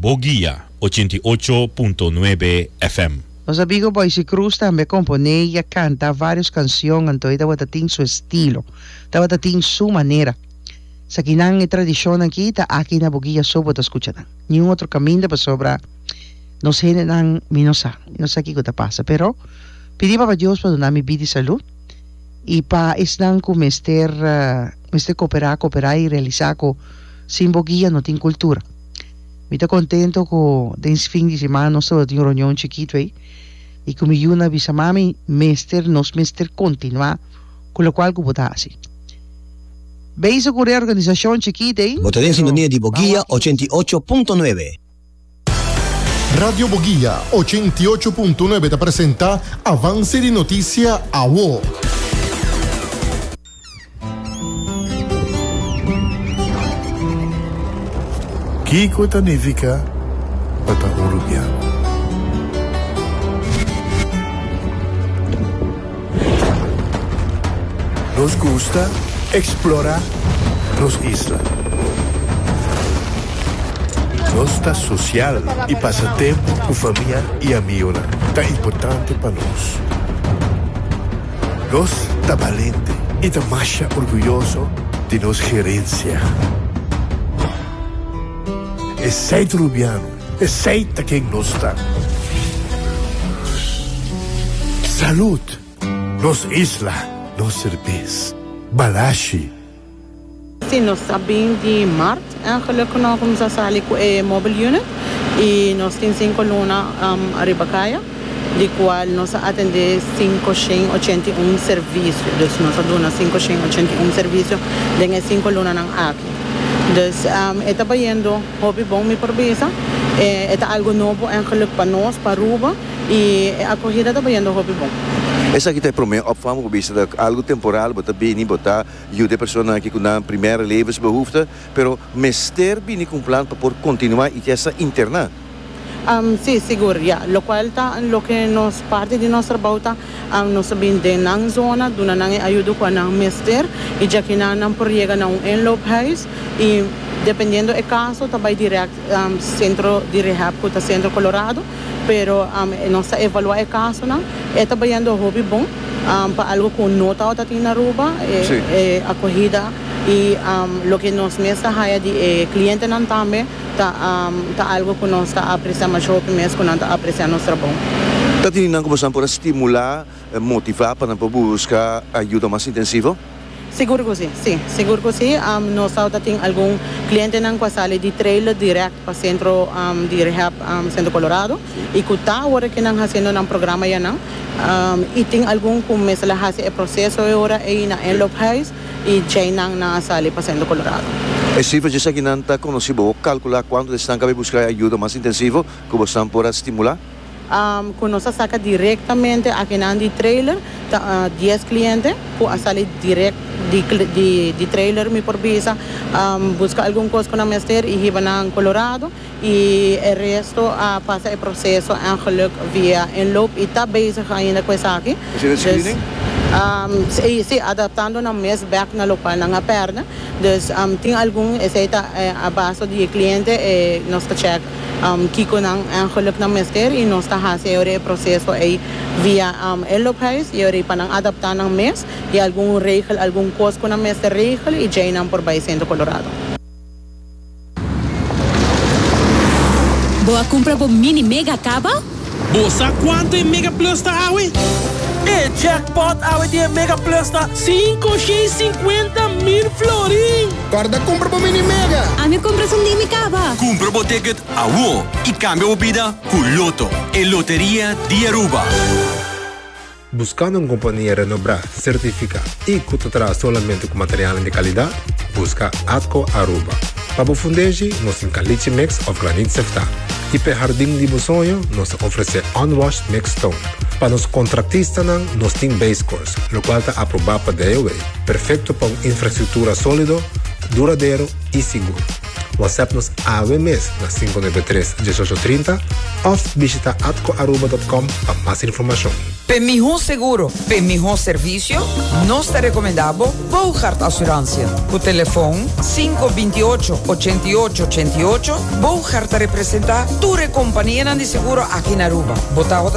Boguia 88.9 FM. Nos amigo Boysie Cruz tambe a componé y a canta varios cancion anto e tabata tin su estilo, tabata tin su manera. Esakinan e tradicionnan aki ta aki na Boguia so bo ta scucha nan, niun otro caminda pasobra nos hendenan mi no sa, mi no sa kico ta pasa pero pidi Papa Dios pa duna mi bida y salud y pa esnan cu mester mester coopera coopera y realisa cu sin Boguia no tin cultura. Mi ta contento cu den fin di siman nos tabata tin un reunion chikito ey y cu mi yuna a bisa mami mester nos mester continua cu locual cu bo ta haci. Bezig cu reorganisacion chikito ey. Bo ta den pero sintonia di ban Boguia wak kico. 88.9. Radio Boguia 88.9 ta presenta Avance di Noticia Awo. Kiko ta nifiká pa ta un rubiano? Nos gusta eksplorá nos isla. Nos ta sosial i pasa tempu ku famia i amionan ta importante pa nos. Nos ta balente i ta masha orguyoso di nos gerensia. Esei ta Rubiano, esei ta ken nos ta. Salud! Nos isla, nos serbes. Balashi. Sí, nos a bin di mart eigenlijk cu nos a cuminsa sali cu e mobile unit y nos tin cinco luna ariba caya di cual nos a atende cinco shen ochenta i un servicio. Dus nos a duna cinco shen ochenta i un servicio den e cinco lunanan aki. Dus e ta bayendo hopi bon mi por bisa. E ta algo nobo eigenlijk pa nos, pa Aruba. Y e acogida ta bayendo hopi bon. Esaki ta e prome opvang bo bisa ta algo temporal, bo ta bini bo ta yuda e personanan aki ku nan primera levensbehoefte, pero mester bini ku un plan pa por kontinuá i esta interná. Sí, sigur, ya. Lokual ta loke nos parti di nos trabou ta, nos ta bini den nan zona, duna nan e ayudo ku nan mester i djakinan nan por yega na un inloophuis i dependiendo e kaso ta bai dirèkt sentro di rehab ku ta Sentro Colorado. Pero nos ta evalua e casonan. E ta bayendo hopi bon pa algo cu no tabata tin na Aruba, e acogida y loke nos mes ta haya di e clientenan tambe ta ta algo cu nos ta aprecia masha hopi mes cu nan ta aprecia nos trabou. Ta tini nan cu boso nan por a stimula, motiva pa nan por busca ayuda mas intensivo? Sigur cu si, si, sigur cu si. Nos tabata tin algun clientenan cu a sali di trailer direct pa centro di rehab Centro Colorado y cu ta awor cu nan haciendo nan programa ya nan. Y tin algun cu mester a haci e proceso e ora ey na inloophuis y djey nan nan a sali pa Centro Colorado. E cifra dje esakinan ta conoci? Bo por calcula cuanto di esnan ca bay busca ayuda mas intensivo cu bosnan por a stimula? Ku nos a saka direktamente akinan di trailer ta dies kliente ku a sali direkt di trailer mi por bisa buska algun kos ku nan mester i hiba nan Colorado i e resto a pasa e proseso eigenlijk via inloop i ta bezig ainda ku esaki. Asina e screening? Si, adaptando nan mes bek na lokual nan a pèrdè. Dus tin algun esei ta a base di e kliente nos ta chèk. Kiko nan eigenlijk nan mester y nos ta haci e ora e proceso ey via e loophuis y ora pa nan adapta nan mes y algun regel algun cos cu nan mester regel y djey nan por bay Centro Colorado. Bo a cumpra bo mini mega caba? Bo sa cuanto e Mega Plus ta awe? E jackpot awe di e Mega Plus ta 550,000 florin! Corda cumpra bo mini mega! Ami a cumpra esun di mi caba! Cumpra bo ticket awo y cambia bo bida cu Lotto, e loteria di Aruba! Buscando un compania renobrá, certificá y cu ta traha solamente cu materialnan di calidad? Busca Atco Aruba. Pa bo fundeshi, nos tin caliche mix of granit seftá. Y p'e hardin di bo soño, nos ta ofrecé unwashed mixed stone. Pa nos contractistanan, nos tin base course, locual ta aprobá pa DOW, perfecto pa un infrastructura solido, duradero y sigur. WhatsApp nos awe mes na 593 1830 of bishita atcoaruba.com pa mas informacion. P'e mihó seguro, p'e mihó servisio, nos ta rekomendá bo Boogaard Assurantie. Ku telefon 528 88 88, Boogaard ta representá tur e kompanianan di seguro aki na Aruba. Bo tabata.